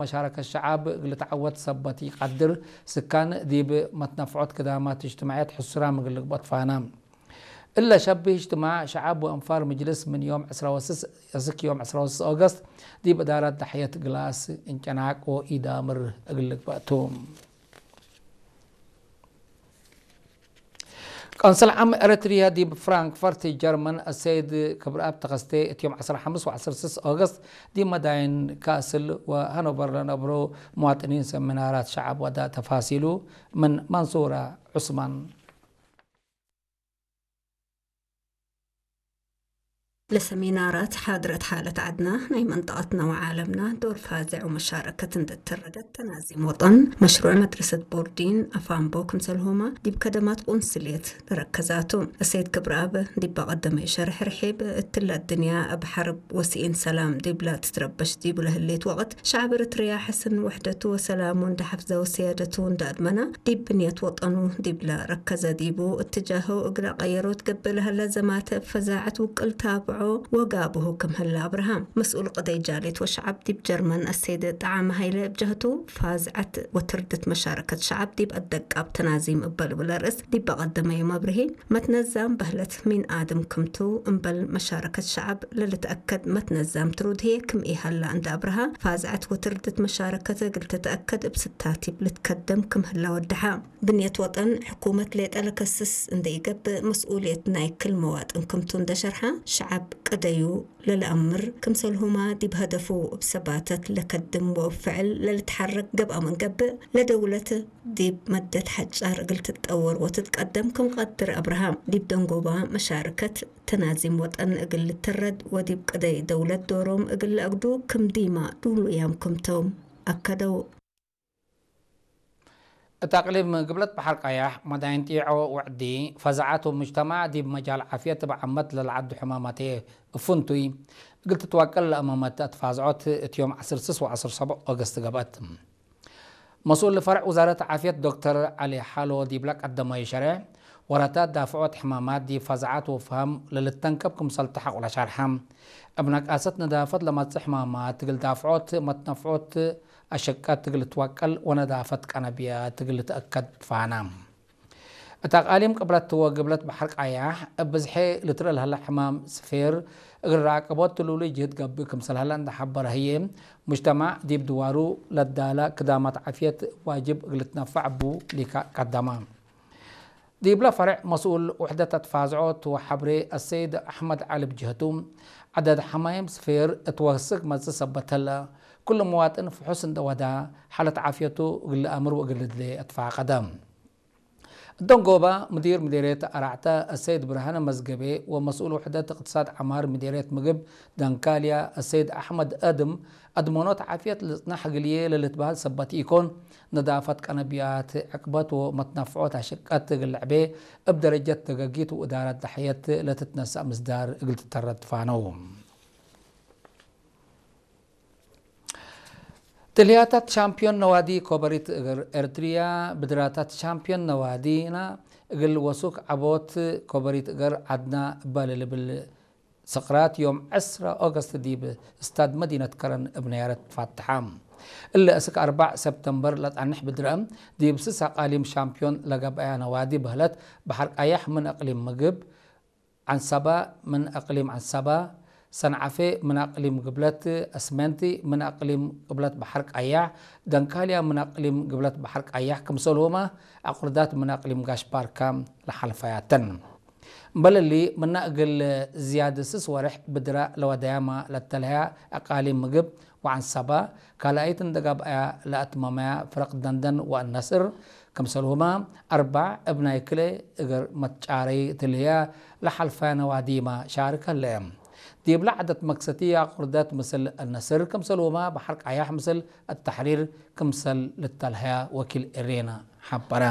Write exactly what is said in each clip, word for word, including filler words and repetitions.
መሻረከት ሸዓብ እግል ልትዐወት ሰበት ኢቀድር፣ ስካን ዲብ መትነፍዖት ክዳማት እጅትማዕየት ሕሱራም እግል ልግበእ ትፋና። እለ ሸብህ እጅትማዕ ሸዓብ ወአንፋር ምጅልስ ምን ዮም ዕስራ ወስስ እስክ ዮም ዕስራ ወስስ ኦገስት ዲብ እዳረት ደሕየት ግላስ እንጨናቅ ወኢዳምር እግል ልግበእ ቱ። ቆንስል ዓም ኤረትርያ ዲብ ፍራንክፈርት ጀርመን አሰይድ ክብረአብ ተኸስቴ፣ እት ዮም ዐስር ሐምስ ወዐስር ስስ ኦገስት ዲብ መዳይን ካስል ወሀኖቨር ለነብሮ መዋጥኒን ሰሚናራት ሸዐብ ወደ። ተፋሲሉ ምን መንሱራ ዑስማን። ለሰሚናራት ሓድረት ሓለት ዐድና፣ ናይ መንጠቀትና ወዓለምና ዶር ፋዝዕ ወመሻረከት እንዴ ተረደት፣ ተናዚም ወጠን፣ መሽሩዕ መድረሰት ቦርዲን አፋንቦ ክምሰልሁመ ዲብ ከደማት ቁንስልየት ለረከዛቱ። እሰይድ ክብረአብ ዲብ ቀደመዩ ሸርሕ ርሒብ፣ እትለ አድንያ እብ ሐርብ ወስኢን ሰላም ዲብላ ትትረበሽ ዲቡ ለህሌት ወቅት፣ ሸዐብ ኤረትርያ ሕስን ውሕደቱ ወሰላሙ እንዴ ሐፍዘ ወስያደቱ እንዴ አድመና፣ ዲብ ብንየት ወጠኑ ዲብለ ረከዘ ዲቡ እትጃሁ እግለ ቀየሮት ገብእ ለሀለ ዘማተ እብ ፈዛዐት ውቅል ታብዖ ወጋብሁ ክም ህለ አብርሃ። መስኡል ቅደይ ጃሌት ወሸዐብ ዲብ ጀርመን አሰይድ ጠዓመ ሀይለ እብ ጀህቱ፣ ፋዝዐት ወትርድት መሻረከት ሸዐብ ዲብ አደቃብ ተናዚም እበ ልብል ርእስ ዲብ ቀደመዩ መብርሂ፣ መትነዛም በህለት ሚን አድም ክምቱ፣ እምበል መሻረከት ሸዐብ ለልትአከድ መትነዛም ትሩድ ህዬ ክም ኢሀላ እንዴ አብርሃ፣ ፋዝዐት ወትርድት መሻረከት እግል ትትአከድ እብ ስታቲብ ልትከደም ክም ህላ ወደሐ። ብንየት ወጠን ሕኩመት ሌጠ ለከስስ እንዴ ኢገብእ፣ መስኡልየት ናይ ክል መዋጥን ክምቱ እንዴ ሸርሐ፣ ሸዐብ ቅደዩ ለለአምር ክምሰልሁመ ዲብ ሀደፉ እብ ሰባተት ለከድም ወእብ ፍዕል ለልትሐረክ ገብአ ምን ገብእ፣ ለደውለት ዲብ መደት ሐጫር እግል ትትጠወር ወትትቀደም ክም ቀድር አብርሃ፣ ዲብ ደንጎባ መሻርከት ተናዚም ወጠን እግል ልትረድ ወዲብ ቅደይ ደውለት ዶሮም እግል ለአግዱ ክም ዲማ ዱሉያም ክምቶም አከደው። እት አቅሊም ግብለት በሐር ቀያሕ፣ መዳይን ጢዖ ወዕዲ፣ ፈዛዐት ወሙጅተማዕ ዲብ መጃል ዓፍየት እብ ዓመት ለለዐዱ ሕማማት እፍንቱይ እግል ትትወቀል ለአመመት አትፋዝዖት እት ዮም ዐስር ስስ ወዐስር ሰብዕ ኦገስት ገብአት። መስኡል ፈርዕ ውዛረት ዓፍየት ዶክተር ዐሊ ሓሎ ዲብለ ቀደመዩ ሸሬሕ፣ ወረታት ዳፍዖት ሕማማት ዲብ ፈዛዐት ወፍሃም ለልተንከብ ክምሰል ተሐቁ ለሸርሐ። እብ ነቃሰት ነዳፈት ለመጽእ ሕማማት እግል ዳፍዖት መትነፍዖት አሸቀት እግል ልትወቀል ወነዳፈት ቀነብያት እግል ልትአከድ ትፋና። እት አቃሊም ቅብለት ወግብለት በሐር ቀያሕ እብ ብዝሐ ልትረእ ለሀለ ሕማም ስፌር እግል ረአቅቦት ትሉሉይ ጅህድ ገብእ ክምሰል ሀለ እንዴ ሐበረ ህዬ፣ ሙጅተማዕ ዲብ ድዋሩ ለዳለ ክዳማት ዓፍየት ዋጅብ እግል ልትነፈዕ እቡ ሊካ ቀደመ። ዲብለ ፈርዕ መስኡል ውሕደት አትፋዝዖት ወሐብሬ አሰይድ አሕመድ ዐሊ ብጅህቱ፣ ዐደድ ሐማይም ስፌር እት ወስክ መጽእ ሰበት ህለ፣ ኩሉ መዋጥን ፍሑስ እንዴ ወዳ፣ ሓለት ዓፍየቱ እግል ለአምር ወእግል ልድሌ አትፋቀደ። እት ደንጎባ፣ ሙዲር ምዴርየት አራዕተ አሰይድ ብርሃነ መዝገቤ ወመስኡል ውሕደት እቅትሳድ ዐማር ምዴርየት ምግብ ደንካልያ አሰይድ አሕመድ አድም፣ አድመኖት ዓፍየት ልጽናሕ እግልዬ ለልትበህል ሰበት ኢኮን፣ ነዳፈት ቀነብያት፣ ዕቅበት ወመትነፍዖት አሸቀት እግል ለዐቤ፣ እብ ደረጀት ደገጊት ወእዳረት ደሕየት ለትትነሰእ ምስዳር እግል ትተረድ ትፋነው። ትልህያታት ሻምፒዮን ነዋዲ ኮበሪት እግር ኤርትርያ፣ ብድራታት ሻምፒዮን ነዋዲና እግል ወሱክ ዐቦት ኮበሪት እግር ዐድና እበ ለልብል ስቅራት ዮም ዕስራ ኦገስት ዲብ ስታድ መዲነት ከረን እብ ነያረት ትፋትሐ። እሊ እስክ አርበዕ ሰብተምበር ለጸንሕ ብድረ፣ ዲብ ስስ አቃሊም ሻምፒዮን ለገብአያ ነዋዲ በህለት፣ በሐር ቀያሕ ምን አቅሊም ምግብ፣ ዐንሰበ ምን አቅሊም ዐንሰበ፣ ሰንዓፌ ምን አቅሊም ግብለት፣ አስመንቲ ምን አቅሊም ቅብለት በሐር ቀያሕ፣ ደንካልያ ምን አቅሊም ግብለት በሐር ቀያሕ፣ ክምሰልሁመ አቁርዳት ምን አቅሊም ጋሽ ባርካ ለሐልፈያተን። እምበል እሊ፣ ምነ እግል ዝያድ ስስ ወሬሕ ብድረ ለወደያመ ለተልሀያ አቃሊም ምግብ ወዐንሰበ፣ ካልኣይት እንዴ ገብአያ ለአትመመያ ፍረቅ ደንደን ወአልነስር፣ ክምሰልሁመ አርበዕ እብ ናይ ክልኤ እግር መትጫረይ ትልህያ ለሐልፈያ ነዋዲመ ሻርክ ህለ። ዲብለ ዐደት መክሰቲ አቁርደት ምስል አልነስር፣ ክምሰልሁመ በሐር ቀያሕ ምስል አልተሕሪር ክምሰል ልተልሀያ ወኪል ኤሬና ሐበረ።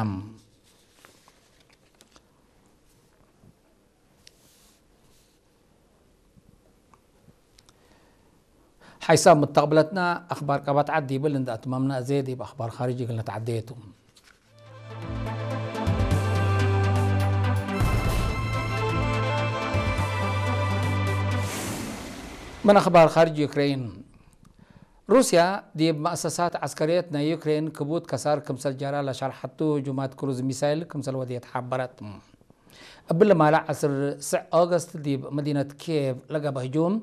ሐይሳብ ምተቅብለትና አክባር ቀበት ዐድ ዲብል እንዴ አትመምነ፣ አዜ ዲብ አክባር ካርጅ እግል ነትዐዴ ቱ። ምን አክባር ካርጅ ዩክሬን፣ ሩስያ ዲብ መአሰሳት ዐስከርየት ናይ ዩክሬን ክቡድ ከሳር ክምሰል ጃራ ለሻርሐቱ ህጁማት ክሩዝ ሚሳይል ክምሰል ወድየት ሐበረት። እብሊ ማለ ዐስር ስዕ ኦገስት ዲብ መዲነት ኪየቭ ለገብአ ህጁም፣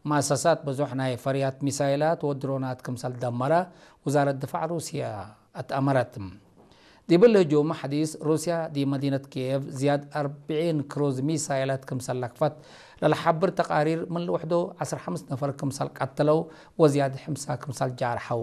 መአሰሳት ብዙሕ ናይ ፈርያት ሚሳይላት ወድሮናት ክምሰል ደመረ ውዛረት ድፋዕ ሩስያ አትአመረት። ዲብሊ ህጁም ሐዲስ፣ ሩስያ ዲብ መዲነት ኪየቭ ዝያድ አርብዒን ክሩዝ ሚሳይላት ክምሰል ለክፈት ለለሐብር ተቃሪር፣ ምን ልውሕዶ ዐስር ሐምስ ነፈር ክምሰል ቀተለው ወዝያድ ሕምሳ ክምሰል ጃርሐው